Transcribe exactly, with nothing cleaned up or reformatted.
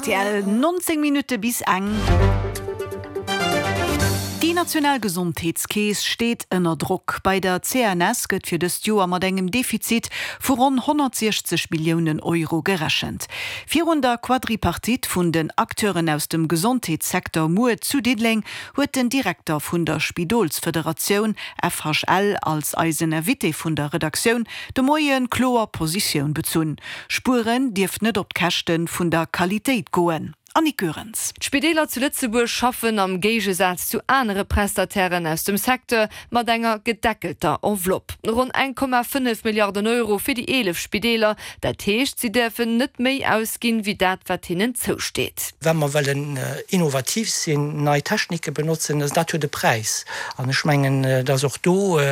R T L, nonzéng Minutte bis eng. Déi national Gesondheetskeess steet ënner Drock. Bei der C N S gëtt fir dëst Joer mat engem Defizit vu ronn honnertsiechzeg Milliounen Euro gerechent. Virun der Quadripartite vun den Acteuren aus dem Gesondheetssecteur muer zu Diddeleng huet den Direkter vun der Spidolsfederatioun F H L als eisen Invité vun der Redaktioun de Moien kloer Positioun bezunn. Spueren dierf net op d'Käschte vun der Qualitéit goen. Annick Goerens. D'Spideeler zu Lëtzebuerg schaffen am Géigesaz zu anere Prestatairen aus dem Secteur mat enger gedeckelter Enveloppe. Ronn eng Komma fënnef Milliarden Euro fir déi eelef Spideeler, dat heescht, si däerfen net méi ausginn, wéi dat wat hinnen zousteet. Wa mer wëllen innovativ sinn, nei Technike benotzen, dat huet e Präis. An ech mengen, dass och do